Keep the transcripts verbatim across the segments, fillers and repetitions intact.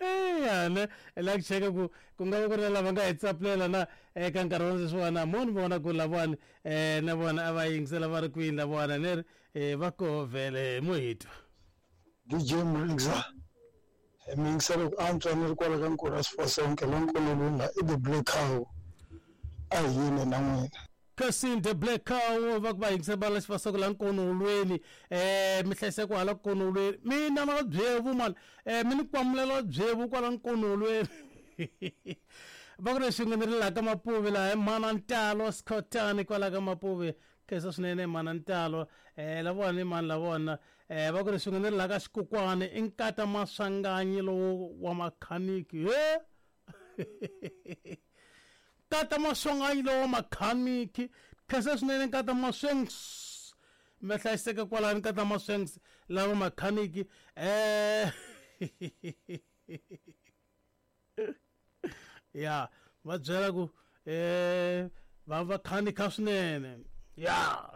Eya la ku cheka ku ku nga va ku ri na lava nga hi tsapulela na eka nkarhi wa sweswiwani mo ni vona ku lavawani um na vona a va yingisela va ri kwini lavawani ni ri um va koho vhele mo hi twa. D J Mrixa mi yingisela ku antswa ni ri kwala ka Nkura Sifosonke la Nkololunga i the Black Cow a hi yini na n'wina. Kasi the Black Cow va ku va yingisela va la Xifasoko la Nkonolweni um mi hlayiseka hala Nkonolweni mina na byevu mani um mi ni kwamulela byevu kwala Nkonolweni va ku ri xin'we ni ri laha ka Mapuve laha hi mana Ntalo Scottani kwala ka Mapuve khensa swinene mana Ntalo um lavona i mani lavona um va ku ri xin'we ni ri laha ka Xikokwani i nkata Maswanganyi lowu wa makhaniki he nkata Maswanganyi lowu wa makhaniki khensa swinene nkata Maswengs mi hlayiseka kwalani nkata Maswengs lava makhaniki um ya va byela ku um va va khanika swinene ya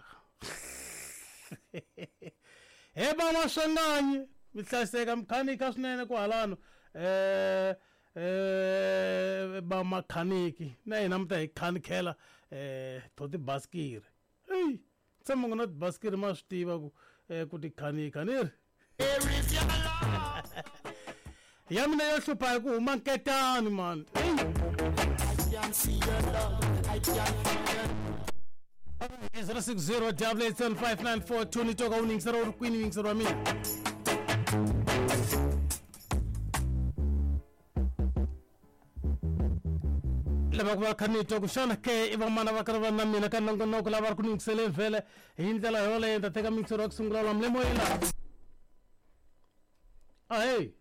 he va Maswanganyi mi hlayiseka mikhanika swinene kwalano um eh ba makhaniki na hina mi ta hi khanikela eh to tibasikiri eyi tshama ku na tibasikiri ma swi tiva ku ku ti khanika ni ri ya mina yo hlupha hi ku huma nketani mani zero six zero double eight seven five nine four two ni toka u ni yingisela u ri kwini yingiselo wa mina. Lava ku va kha ni twa ku xana ke i vamana va karhi va na mina ka nongonoko lava ri ku ni yingiseleni vhele hi ndlela yoleyo ni ta teka mixero wa ku sungula la mule moyeni la ahey.